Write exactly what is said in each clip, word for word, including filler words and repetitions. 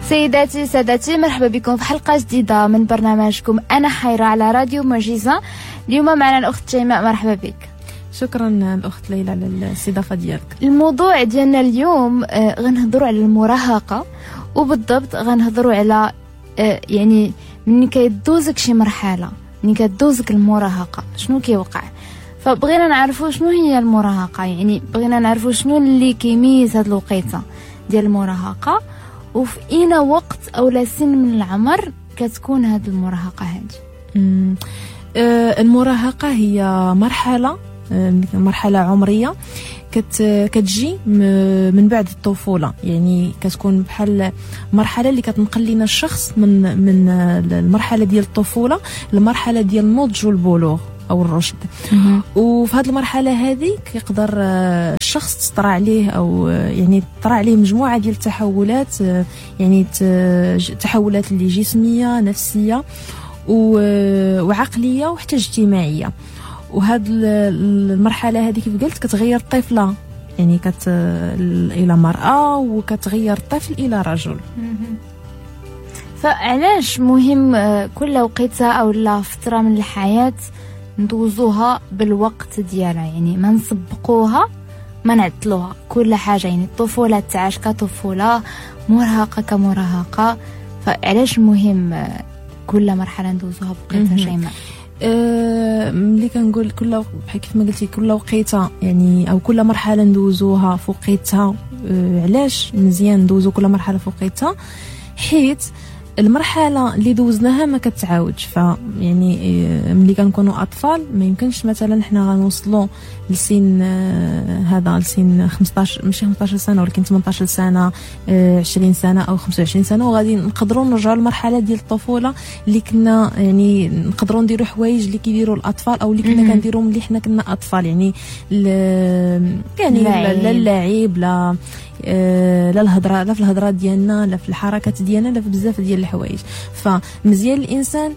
سيداتي سادتي، مرحبا بكم في حلقة جديدة من برنامجكم أنا حيرة على راديو معجزة. اليوم معنا الأخت شيماء، مرحبا بك. شكرا الأخت ليلى على الاستضافة ديالك. الموضوع ديالنا اليوم آه، غنهضروا على المراهقة، وبالضبط غنهضروا على آه، يعني ملي كيدوزك شي مرحلة، ملي كدوزك المراهقة شنو كيوقع. فبغينا نعرفوا شنو هي المراهقة، يعني بغينا نعرفوا شنو اللي كيميز هاد الوقيته ديال المراهقة، وفي اين وقت او لا سن من العمر كتكون هاد المراهقة هادي. آه، المراهقة هي مرحلة آه، مرحلة عمرية كت كتجي من بعد الطفولة، يعني كتكون بحال مرحلة اللي كتنقل لنا الشخص من من المرحلة ديال الطفولة للمرحلة ديال النضج والبلوغ او الرشد. وفي هذه المرحلة هذه كيقدر آه، الشخص تطرى عليه او آه، يعني تطرى عليه مجموعة ديال التحولات، آه، يعني تحولات اللي جسميه، نفسية وعقلية وحتى اجتماعية. وهاد المرحلة هذه كيف قلت كتغير الطفلة، يعني كت الى مراة، وكتغير الطفل الى رجل. فعلاش مهم كل وقيته او لا فترة من الحياة ندوزوها بالوقت ديالها، يعني ما نسبقوها ما نعطلوها كل حاجة، يعني الطفولة تعاش كطفوله، مراهقة كمراهقه. فعلاش مهم كل مرحلة ندوزوها بوقيتها شيماء؟ أه ملي كنقول كل بحال كيف ما قلتي كل وقيته يعني او كل مرحلة ندوزوها فوقيتها. أه علاش مزيان ندوزو كل مرحلة فوقيتها؟ حيت المرحلة اللي دوزناها ما كتعاودش. ف يعني ملي كنكونوا اطفال ما يمكنش مثلا حنا غنوصلوا لسن هذا لسن خمسطاش، ماشي خمسطاش سنة ولكن ثمنطاش سنة، عشرين سنة او خمسة وعشرين سنة، وغادي نقدروا نرجعوا للمرحلة ديال الطفولة اللي كنا يعني نقدروا نديروا حوايج اللي كيديروا الاطفال او اللي كنا كنديروا ملي حنا كنا اطفال، يعني يعني لا اللعب لا لا الهضرة، لا في الهضرة ديالنا، لا في الحركات ديالنا، لا في بزاف ديال الحوايج. فمزيان الانسان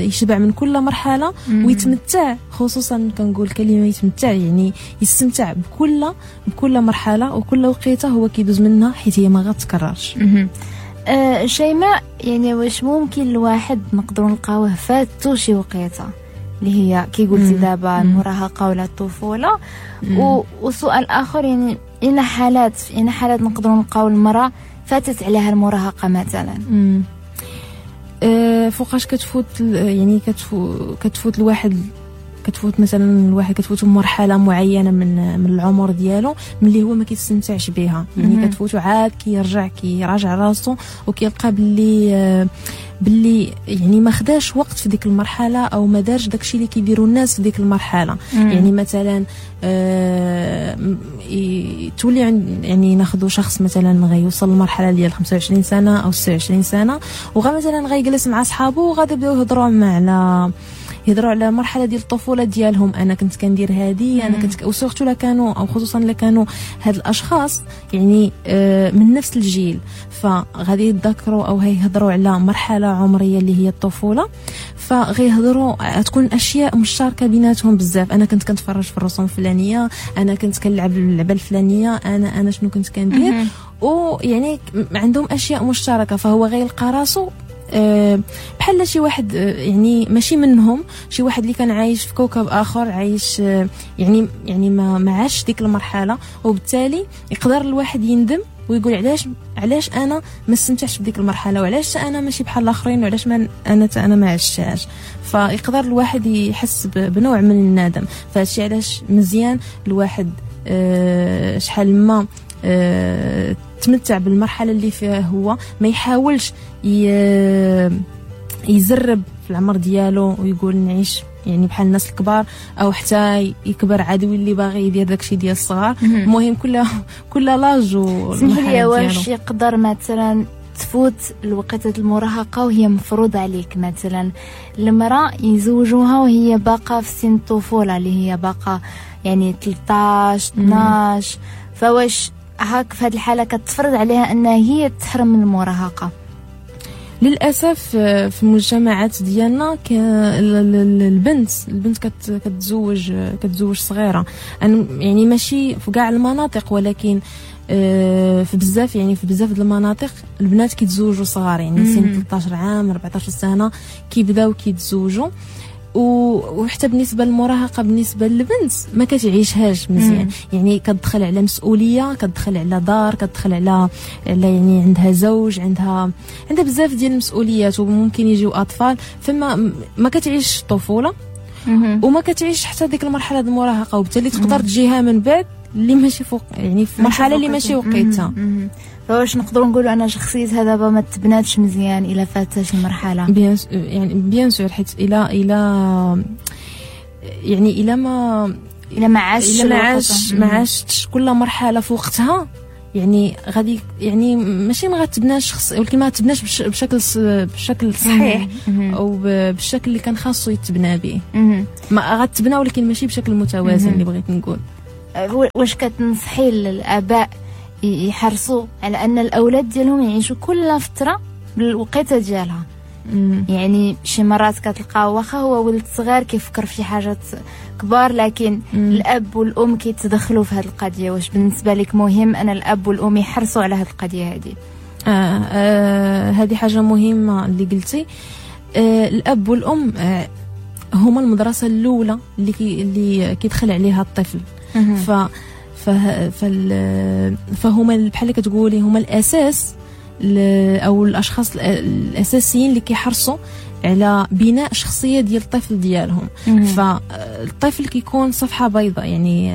يشبع من كل مرحلة ويتمتع، خصوصا كنقول كلمة يتمتع، يعني يستمتع بكل بكل مرحلة وكل وقيته هو كيدوز منها، حيت هي ما غتكررش. أه شيماء، يعني واش ممكن الواحد نقدروا نلقاوه فاتو شي وقيته اللي هي كي قلتي دابا المراهقة ولا الطفولة؟ و... وسؤال اخر، يعني إن حالات في إن حالات نقدروا نلقاو المرأة فاتت عليها المراهقة مثلا؟ أه فوقاش كتفوت، يعني كتفوت كتفوت الواحد، كتفوت مثلا الواحد كتفوت مرحلة معينة من من العمر ديالو ملي هو ما كيستمتعش بها، يعني كتفوتو عاد كيرجع كيراجع راسو وكيلقى باللي باللي يعني ما خداش وقت في ديك المرحلة او ما دارش داكشي اللي كيديروا الناس في ديك المرحلة. مم. يعني مثلا آه تولي عند يعني ناخذوا شخص مثلا غيوصل للمرحلة ديال خمسة وعشرين سنة او ستة وعشرين سنة، وغا مثلا غيجلس مع صحابو وغادي يبداو يهضروا مع على يهضروا على المرحلة ديال الطفولة ديالهم، انا كنت كندير هادي، انا كنت، و surtout لا كانوا او خصوصا لا كانوا هاد الاشخاص يعني من نفس الجيل، فغادي يتذكروا او هيهضروا على مرحلة عمرية اللي هي الطفولة، فغيهضروا تكون اشياء مشتركة بيناتهم بزاف. انا كنت كنتفرج في الرسوم الفلانية، انا كنت كنلعب اللعبة الفلانية، انا انا شنو كنت كندير، ويعني عندهم اشياء مشتركة. فهو غيلقى راسو بحال شي واحد يعني ماشي منهم، شي واحد اللي كان عايش في كوكب اخر، عايش يعني يعني ما ما عاش ديك المرحلة، وبالتالي يقدر الواحد يندم ويقول علاش علاش انا ما استمتعتش بديك المرحلة، وعلاش انا ماشي بحال الاخرين، وعلاش ما انا انا ما عشتهاش. فيقدر الواحد يحس بنوع من الندم. فهادشي علاش مزيان الواحد شحال ما تمتع بالمرحلة اللي فيها هو، ما يحاولش يزرب في العمر ديالو ويقول نعيش يعني بحال الناس الكبار، او حتى يكبر عاد ويولي باغي يدير داكشي ديال الصغار. المهم كل كل l'âge و سمح لي، واش يقدر مثلا تفوت الوقت المراهقة وهي مفروض عليك؟ مثلا المراة يزوجوها وهي باقه في سن الطفولة اللي هي باقه يعني ثلاثة عشر اثنا عشر، فواش هاك في هذه الحالة كتفرض عليها انها هي تحرم من المراهقة؟ للاسف في المجتمعات ديالنا البنت البنت كتزوج كتزوج صغيرة، يعني ماشي في كاع المناطق، ولكن في بزاف، يعني في بزاف د المناطق البنات كيتزوجوا صغار، يعني سن ثلاثة عشر عام أربعة عشر سنة كيبداو كيتزوجوا. وحتى بالنسبة للمراهقه بالنسبة للبنت ما كتعيشهاش مزيان، يعني كتدخل على مسؤولية، كتدخل على دار، كتدخل على على يعني عندها زوج، عندها عندها بزاف ديال المسؤوليات، وممكن يجيو اطفال، فما ما كتعيش الطفولة وما كتعيش حتى ديك المرحلة ديال المراهقة، وبالتالي تقدر تجيها من بعد اللي ماشي فوق، يعني في مرحلة اللي ماشي وقيتها. فواش نقدروا نقولوا ان شخصيتها دابا ما تبناتش مزيان الا فاتت المرحلة؟ bien يعني bien sûr، حيت الى الى يعني الى ما الى ما عاش الى ما عاش ما عاشتش كل مرحلة في وقتها، يعني غادي يعني ماشي ما غتبناش شخص، ولكن ما تبناش بشكل بشكل صحيح او بالشكل اللي كان خاصو يتبنى به. ما غتبنى ولكن ماشي بشكل متوازن اللي بغيت نقول. واش كتنصحي للاباء يحرصوا على ان الاولاد ديالهم يعيشوا كل فترة بالوقيته ديالها؟ مم. يعني شي مرات كتلقى واخا هو ولد صغير كيفكر في شي حاجات كبار، لكن مم. الاب والام كيتدخلوا في هذه القضية. واش بالنسبة لك مهم ان الاب والام يحرصوا على هذه القضية هذه؟ آه آه هذه حاجة مهمة اللي قلتي. آه الاب والام آه هما المدرسة الاولى اللي كي اللي كيدخل عليها الطفل. ف فهما بحال كتقولي هما الاساس او الاشخاص الاساسيين اللي كيحرصوا على بناء شخصية ديال الطفل ديالهم. فالطفل كيكون صفحة بيضاء، يعني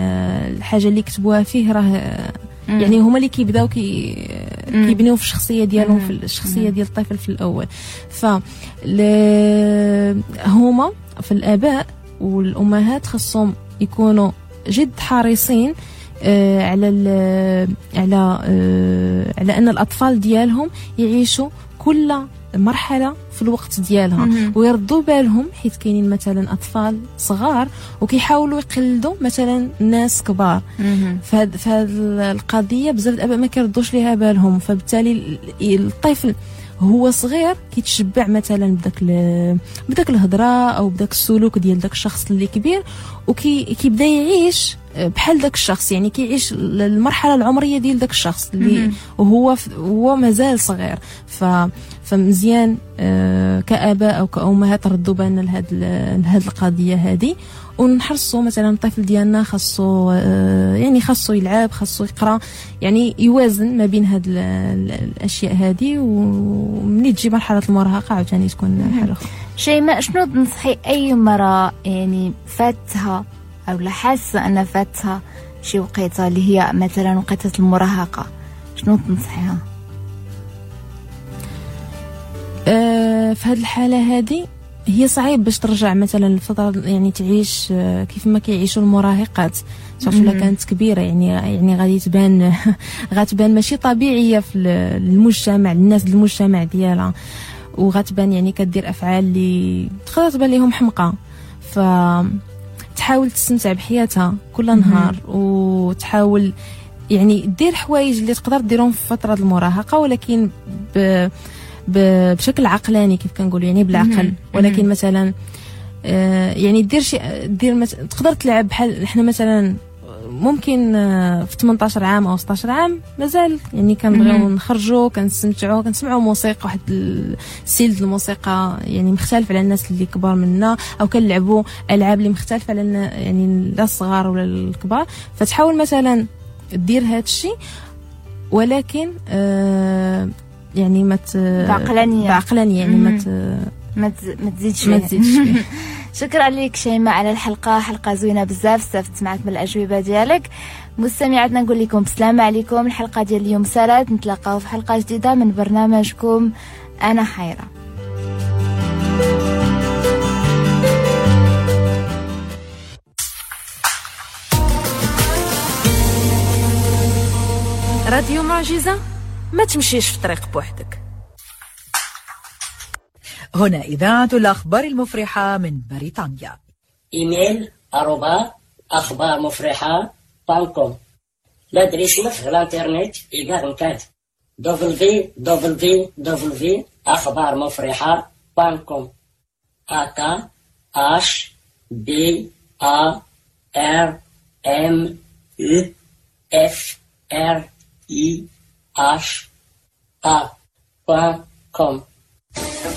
الحاجة اللي كتبوها فيه راه يعني هما اللي كيبداو كي كيبنيو في الشخصية ديالهم، في الشخصية ديال الطفل في الاول. ف هما في الاباء والامهات خصهم يكونوا جد حريصين على على على ان الاطفال ديالهم يعيشوا كل مرحلة في الوقت ديالها ويردوا بالهم، حيت كاينين مثلا اطفال صغار وكيحاولوا يقلدوا مثلا ناس كبار. فهاد فهاد القضية بزاف الاباء ما كيردوش ليها بالهم، فبالتالي الطفل هو صغير كيتشبع مثلا بداك بداك الهضرة او بداك السلوك ديال داك الشخص اللي كبير، وكيبدا يعيش بحال داك الشخص، يعني كيعيش المرحلة العمرية ديال داك الشخص اللي وهو هو مازال صغير. ف فمزيان كآباء او كأمهات ردوا بالنا لهاد لهاد القضية هذه، ونحرصوا مثلا الطفل ديالنا خاصو يعني خاصو يلعب، خاصو يقرا، يعني يوازن ما بين هاد الاشياء هذه، ومني تجي مرحلة المراهقة عاوتاني تكون حاجة اخرى. شيماء، شنو تنصحي اي امراة يعني فاتها او لا حاسه ان فاتها شي وقيته اللي هي مثلا وقيته المراهقة، شنو تنصحيها؟ أه في هذه الحالة هذه هي صعيب باش ترجع مثلا الفترة، يعني تعيش كيف ما كيعيشوا المراهقات، surtout لا كانت كبيرة، يعني يعني غادي تبان غتبان ماشي طبيعية في المجتمع، الناس المجتمع ديالها، وغتبان يعني كدير افعال اللي تقدر تبان لهم حمقى. ف تحاول تستمتع بحياتها كل نهار، وتحاول يعني دير حوايج اللي تقدر ديرهم في فترة المراهقة، ولكن ب بشكل عقلاني كيف كنقولوا، يعني بالعقل. ولكن مثلا يعني دير شي دير مت... تقدر تلعب بحال حنا مثلا ممكن في ثمانية عشر عام او ستة عشر عام مازال يعني كنبغيو نخرجوا، كنستمتعوا، كنسمعوا موسيقى، واحد ال style الموسيقى يعني مختلف على الناس اللي كبار منا، او كنلعبوا العاب اللي مختلفة على يعني لا الصغار ولا الكبار. فتحاول مثلا دير هذا الشيء، ولكن آه يعني ما بعقلانيه بعقلانيه يعني ما ما تزيدش ما تزيدش فيه. شكرا لك شيماء على الحلقة، حلقة زوينة بزاف، استفدت معك من الاجوبة ديالك. مستمعاتنا نقول لكم بسلامه عليكم، الحلقة ديال اليوم سالات، نتلاقاو في حلقة جديدة من برنامجكم انا حيره. راديو معجزه، ما تمشيش في طريق بوحدك. هنا إذاعة الأخبار المفرحة من بريطانيا. إيميل أروبا أخبار مفرحة point com. l'adresse في الانترنت إيغار كات W W W أخبار مفرحة point com. A K H B A R M U F R I H A point com.